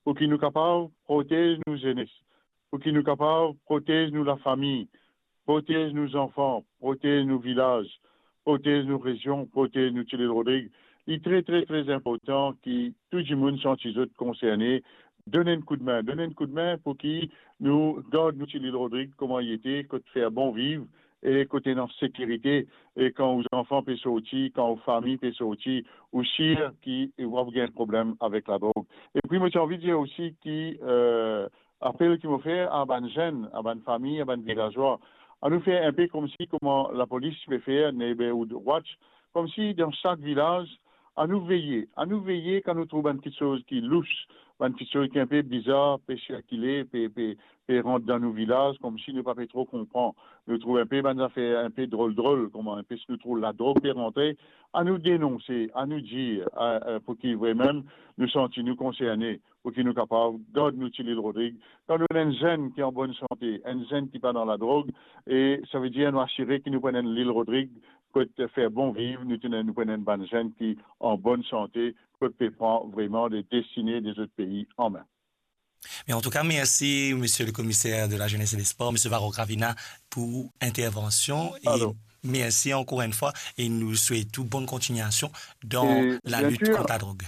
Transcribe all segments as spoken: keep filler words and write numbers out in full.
pou ki nou kapav protez nou zenes, pou ki nou kapav protez nou lafami, protez nou zanfan, protez nou vilaz, protez nou rezion, protez nou ti Lil Rodrig. Li tre, tre, tre inportan ki tou dimoun santi zot konserne, donn enn koudmin, donn enn koudmin pou ki nou gard nou ti Lil Rodrig kouma li ete, kot fer bon viv e kot ena sekirite, e kan ou zanfan pe sorti, kan ou fami pe sorti, ou sir ki ou pa pou gagn problem avek ladrog. Epi mo ti anvi dir osi ki, eh, apel ki mo fer a bann zenn, a bann fami, a bann vilazwa, anou fer inpe koumsi kouma lapolis ti pe fer Neighborhood Watch, koumsi dan sak vilaz, anou veye, anou veye kan nou trouv bann kiksoz ki lous, bann kiksoz ki inpe bizar pe sirkile, pe, pe, pe rant dan nou vilaz, koumsi nou pa pe tro konpran. Nou trouv inpe bann zafer inpe drol-drol, kouma inpe si nou trouv ladrog pe rantre, anou denonse, anou dir, eh, eh, pou ki vremem nou santi nou konserne, pou ki nou kapav gard nou ti Lil Rodrig. Kan nou ena enn zenn ki an bonn sante, enn zenn ki pa dan ladrog, e savedir nou asire ki nou pou ena enn Lil Rodrig kot fer bon viv, nou ena, nou pou ena enn bann zenn ki an bonn sante, kot pe pran vreman de destine de zot pei an me. Mais en tout cas, merci, monsieur le commissaire de la Jeunesse et des Sports, monsieur Varrock Ravina, pour intervention. Et alors, merci encore une fois et nous souhaitons bonne continuation dans la lutte contre la drogue.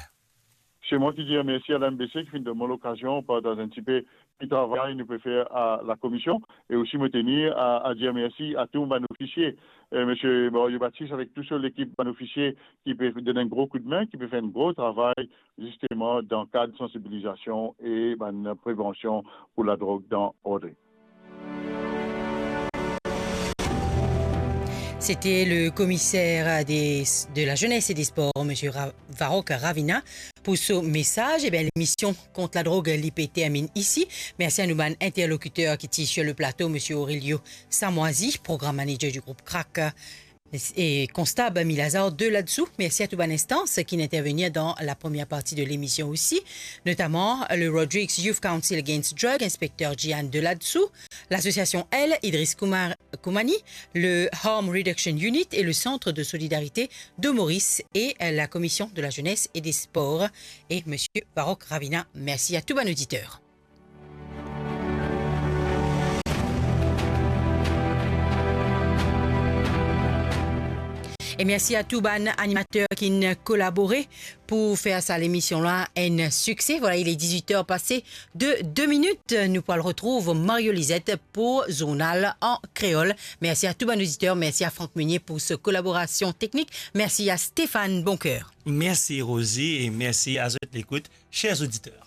C'est moi qui dis merci à l'M B C qui vient de donner l'occasion pour partager un petit peu le travail que nous pouvons faire à la commission. Et aussi, me tenir à, à dire merci à tous mes officiers, euh, monsieur Mario Baptiste avec toute son équipe d'officiers qui peut donner un gros coup de main, qui peut faire un gros travail justement dans le cadre de sensibilisation et ben, prévention pour la drogue dans Rodrigue. C'était le commissaire des, de la jeunesse et des sports, monsieur Ra-, Varrock Ravina, pour ce message. Eh bien, l'émission Contre la drogue, li pe termine ici. Merci à nos interlocuteurs qui étaient sur le plateau, monsieur Aurelio Samoisi, programme manager du groupe Crack, et Constab Milazar Deladsou. Merci à tout bann instance qui intervenir dans la première partie de l'émission aussi, notamment le Rodrigues Youth Council Against Drug, inspecteur Gian Deladsou, l'association L, Idriss Koumar-, Koumani, le Harm Reduction Unit et le Centre de Solidarité de Maurice et la Commission de la Jeunesse et des Sports et monsieur Varrock Ravina. Merci à tout bann auditeur. E mersi a tou bann animater ki'nn kolabore pou fer sa lemision la enn sikse. Vwala, il est dix-huit heures passées de deux minutes. Nou pou al retrouv Mario Lizette pou zournal an kreol. Mersi a tou bann oditer, mersi a Franck Meunier pou so kolaborasion teknik, mersi a Stéphane Boncoeur. Mersi Rosie e mersi a zot lekout, cher oditer.